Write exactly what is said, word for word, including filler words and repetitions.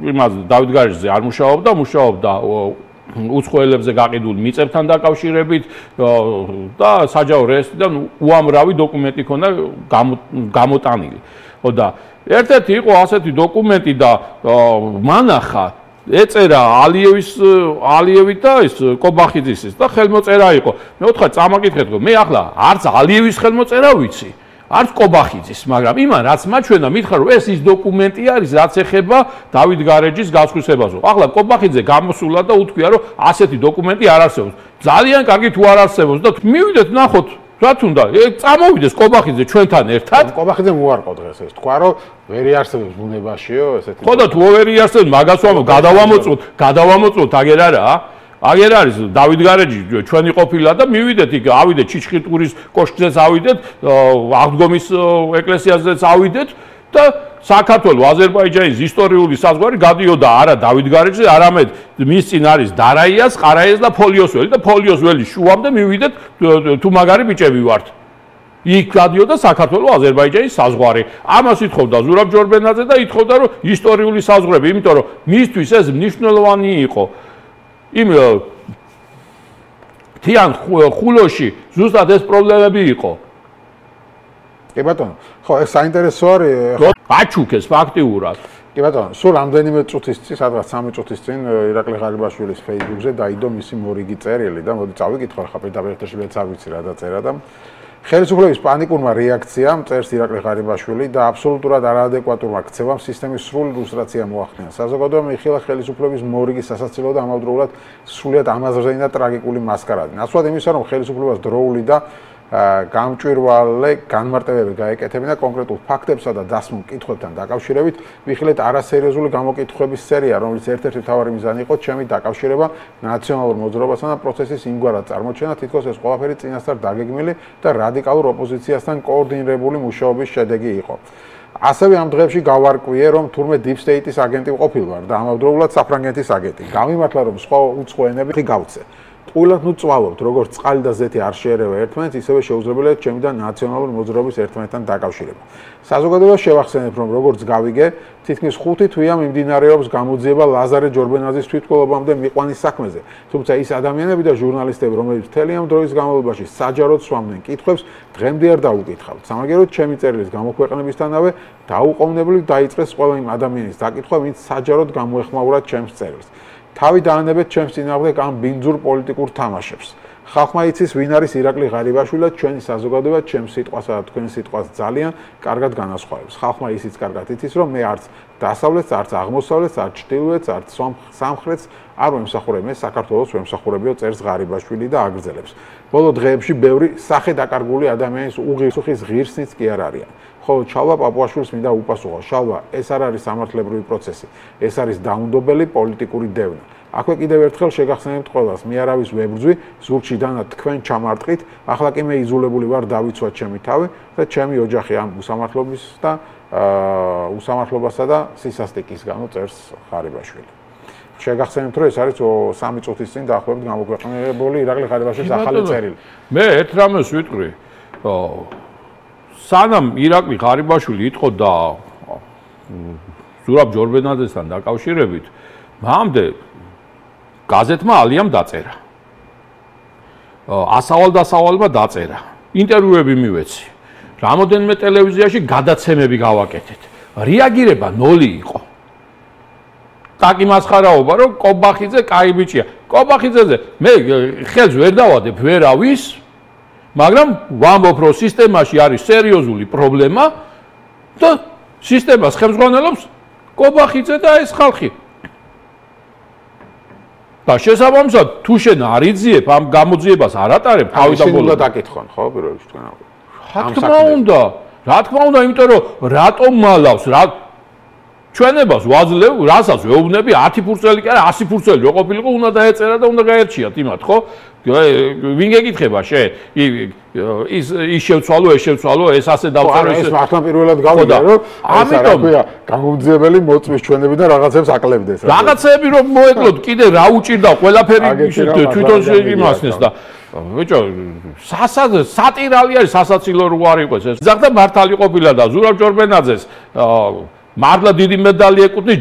იმას დავით გარეჯზე არ მუშაობდა, მუშაობდა უცხოელებზე გაყიდულ მიწებთან დაკავშირებით და საჯარო რეესტრიდან უამრავი დოკუმენტი ქონდა გამოტანილი. ხო და ერთ-ერთი იყო ასეთი დოკუმენტი და მანახა ეწერა ალიევის ალიევი და ის კობახიძის და ხელმოწერა იყო. მე ვთქვა წამაკითხეთ, რომ მე ახლა არც ალიევის ხელმოწერა ვიცი, არც კობახიძის, მაგრამ იმან რაც მაჩვენა, მითხრა რომ ეს ის დოკუმენტი არის, რაც ეხება დავით გარეჯის გასხვისებას. ახლა კობახიძე გამოსულა და უთქვია, რომ ასეთი დოკუმენტი არ არსებობს. ძალიან კარგი თუ არ არსებობს და მივიდეთ ნახოთ რა თუნდა, წამოვიდეს კობახიძე ჩვენთან ერთად. კობახიძემ უარყო დღეს ეს. თქვა რომ ვერ იარსებობს ბუნებაშიო ესეთი. ხო და თუ ვერ იარსებობს, მაგას ვამბობ, გადავამოწმოთ, გადავამოწმოთ აგერ არა. აგერ არის დავით გარეჯი ჩვენი ყოფილა და მივიდეთ იქ, ავიდეთ ჩიჩხიტურის კოშკზეც ავიდეთ, აღდგომის ეკლესიაზეც ავიდეთ და საქართველოს აზერბაიჯანის ისტორიული საზღვარი გადიოდა არა დავით გარეჯზე, არამედ მის წინ არის დარაიას, ყარაიას და ფოლიოსველი და ფოლიოსველის შუამდე მივიდეთ თუ მაგარი ბიჭები ვართ. იქ გადიოდა საქართველოს აზერბაიჯანის საზღვარი. ამას ითხოვდა ზურაბ ჯორბენაძე და ითხოვდა რომ ისტორიული საზღვრები, იმიტომ რომ მისთვის ეს მნიშვნელოვანი იყო. იმ თიან ხულოში ზუსტად ეს პრობლემები იყო. კი ბატონო, ხო, ეს საინტერესო არის. აჩუქეს ფაქტიურად. კი ბატონო, სულ რამდენიმე წუთის წინ, სადღაც სამი წუთის წინ ირაკლი ღარიბაშვილის Facebook-ზე დაიდო მისი მორიგი წერილი და მოდი წავიკითხო ხა პირდაპირ ეთერში, მეც არ ვიცი რა დაწერა და ხელისუფლების პანიკურმა რეაქციამ წერს ირაკლი ღარიბაშვილი და აბსოლუტურად არაადეკვატურმა ქცევამ სისტემის სრული ლუსტრაცია მოახდინა. საზოგადოებამ იხილა ხელისუფლების მორიგი სასაცილო და ამავდროულად სრულიად ამაზრზენი და ტრაგიკული მასკარადი. ნაცვლად იმისა, რომ ხელისუფლებას დროული და გამჭვირვალე განმარტებები გაეკეთებინა კონკრეტულ ფაქტებსა და დასმულ კითხვებთან დაკავშირებით, ვიხილეთ არასერიოზული გამოკითხვების სერია, რომელიც ერთ-ერთი მთავარი მიზანი იყო ჩემი დაკავშირება ნაციონალურ მოძრაობასთან და პროცესის იმგვარად წარმოჩენა, თითქოს ეს ყველაფერი წინასწარ დაგეგმილი და რადიკალურ ოპოზიციასთან კოორდინირებული მუშაობის შედეგი იყო. ასევე ამ დღეებში გავარკვიე, რომ თურმე Deep State-ის აგენტი ყოფილვარ და ამავდროულად საფრანგეთის აგენტი. გამიმართლა, რომ სხვა უცხო ენები გავცე. ყვილად ნუ წვალობთ, როგორც წყალი და ზეთი არ შეერევა ერთმანეთს, ისევე შეუძლებელია ჩემი და ნაციონალური მოძრაობის ერთმანეთთან დაკავშირება. საზოგადოებას შევახსენებ, რომ როგორც გავიგე, თითქმის ხუთი თვეა მიმდინარეობს გამოძიება ლაზარე ჯორბენაძის თვითმკვლელობამდე მიყვანის საქმეზე. თუმცა ის ადამიანები და ჟურნალისტები, რომლებიც მთელი ამ დროის განმავლობაში საჯაროდ სვამდნენ კითხვებს, დღემდე არ დაუკითხავთ. სამაგეროდ ჩემი წერილის გამოქვეყნებისთანავე დაუყოვნებლივ დაიწყეს ყველა იმ ადამიანის დაკითხვა, ვინც საჯაროდ გამოეხმაურა ჩემს წერილს. თავი დაანებეთ ჩემს წინააღმდეგ ამ ბინძურ პოლიტიკურ თამაშებს. ხალხმა იცის, ვინ არის ირაკლი ღარიბაშვილი და ჩვენი საზოგადოება ჩემს სიტყვასა და თქვენ სიტყვას ძალიან კარგად განასხვავებს. ხალხმა ისიც კარგად იცის, რომ მე არც დასავლეთს, არც აღმოსავლეთს, არც ჩრდილოეთს, არც სამხრეთს არ ვემსახურებ, მე საქართველოს ვემსახურებიო, წერს ღარიბაშვილი და აგრძელებს. ბოლო დღეებში ბევრი სახე დაკარგული ადამიანის უღირსუხის ღირსნიც კი არ არიან. ხოლო ჩალვა პაპუაშვილს მინდა უპასუხო. შალვა, ეს არ არის სამართლებრივი პროცესი, ეს არის დაუნდობელი პოლიტიკური დევნა. აქვე კიდევ ერთხელ შეგახსენებთ ყველას, მე არავის ვებრძვი, ზურგში დანა თქვენ ჩამარტყით, ახლა კი მე იზოლებული ვარ, დავიცვა ჩემი თავი და ჩემი ოჯახი ამ უსამართლობის და უსამართლობასა და სისასტიკის გამო წერს ღარიბაშვილი. შეგახსენებთ, რომ ეს არის სამი წუთის წინ დაახლოებით გამოქვეყნებული ირაკლი ღარიბაშვილის ახალი წერილი. მე ერთ რამეს ვიტყვი, სანამ ირაკლი ღარიბაშვილი იტყოდა ზურაბ ჯორბენაძესთან დაკავშირებით, მამდე გაზეთმა ალიამ დაწერა. ასავალ-დასავალმა დაწერა. ინტერვიუები მივეცი. რამოდენიმე ტელევიზიაში გადაცემები გავაკეთეთ. რეაგირება ნოლი იყო. ტაკი მასხარაობა, რომ კობახიძე კაი ბიჭია. კობახიძეზე მე ხელს ვერ დავადებ ვერავის, მაგრამ ვამბობ, რომ სისტემაში არის სერიოზული პრობლემა და სისტემას ხელმძღვანელობს კობახიძე და ეს ხალხი. და შესაბამისად, თუ შენ არ იძიებ ამ გამოძიებას არ ატარებ, თავი და ბოლო დაკითხონ, ხო, პირველ რიგში თქვენ. რა თქმა უნდა, რა თქმა უნდა, იმიტომ რომ რატომ მალავს, რა ჩვენებას ვაძლევ, რასაც ვეუბნები, ათი ფურცელი კი არა, ასი ფურცელი რო ყოფილიყო, უნდა დაეწერა და უნდა გაერჩიათ იმათ, ხო? ვინ გეკითხება შენ? ის ის შევცვალო, ეს შევცვალო, ეს ასე დავწერო, ეს მართლა პირველად გავიგე, რომ ამიტომ გამომძიებელი მოწმის ჩვენებიდან რაღაცებს აკლებდეს. რაღაცები რომ მოეკლოთ, კიდე რა უჭირდა, ყველაფერი თვითონ იმასნეს და ბიჭო, სატირალი არის, სასაცილო რო არ იყოს ეს. ზახდა მართალი ყოფილა და ზურაბ ჯორბენაძეს მართლა დიდი მედალი ეკუთვნის.